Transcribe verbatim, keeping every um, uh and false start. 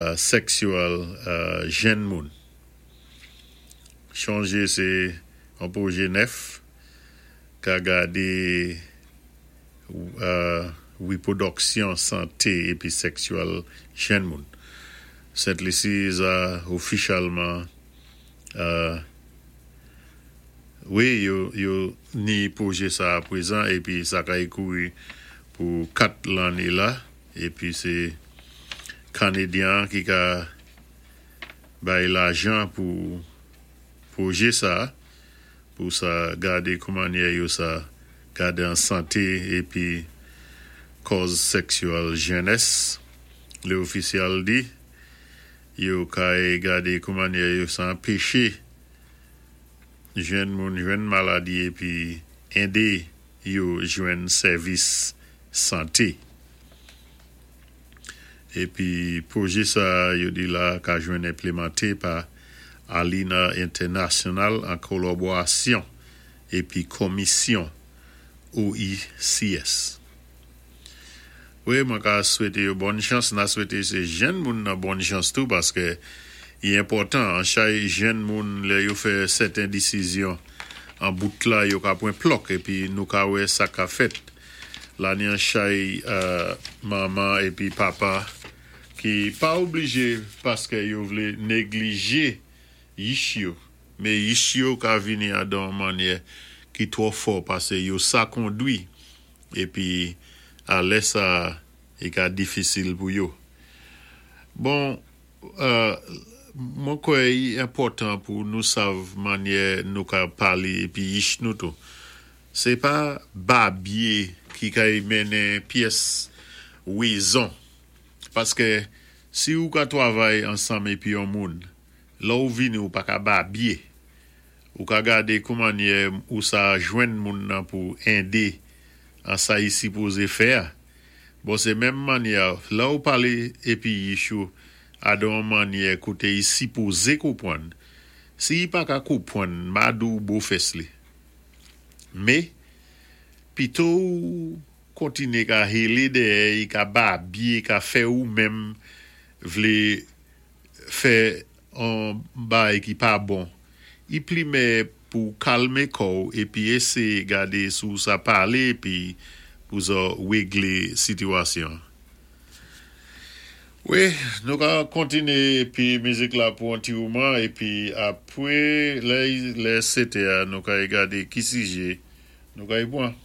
Seksyèl jenn moun. Chonjé sé an pwojé nèf ka gadé wépwodiksyon santé épi seksyèl jenn moun. Sent Lisi sa ofisyèlman wi yo ni pwojé sa pwézan épi sa kay kouri pou kat lanné la épi sé Kanadyen ki ka bay lajan pou pwojé sa pou sa gadé koumannyè yo sa gadé an santé épi kòz seksyèl jènès. Lé ofisyèl di yo kay gadé koumannyè yo sa anpéché jenn moun jwenn maladi épi édé yo jwenn sèvis santé. Épi pwojé sa yo di la ka jwenn enplimanté pa Alina International an kolaborasyon épi komisyon O I C S. Wi, mwen ka swété yo bòn chans, na swété sé jenn moun nan bòn chans tou paské i enpòtan an chay jenn moun lè yo fè sèten désizyon an bout la yo ka pwan plòk épi nou ka wè sa ka fèt. La ni an chay manman épi papa ki pa oblijé paské yo vlé néglijé yich yo, mé yich yo ka vini adan mannyè ki twò fò pasé yo sa kondwi épi a lè sa i ka difisil pou yo. Bon, mwen kwè i enpòtan pou nou sav mannyè nou ka palé épi yich nou tou. Sé pa babyé ki kay mennen pyès wézon. Paské si ou ka twavay ansanm épi yon moun, lè ou vini ou pa ka babyé. Ou ka gadé koumannyè ou sa jwenn moun nan pou édé an sa i sipozé fè a. Bon, sé menm mannyè, lè ou palé épi yich ou adan mannyè koté i sipozé konpwann. Si i pa ka konpwann, ma di ou bo fès li. Mé, pito ou kontiné ka hélé dèyè, i ka babyé, ka fè ou menm vlé fè an bagay ki pa bon. I pli mèyè pou kalmé kò'w épi éséyé gadé sou sa palé épi pou sa wéglé sitiyasyon. Wi, nou ka kontiné épi mizik la pou an ti mouman épi apwé lè lè sétè nou ka gadé ki sijé nou ka y pwan.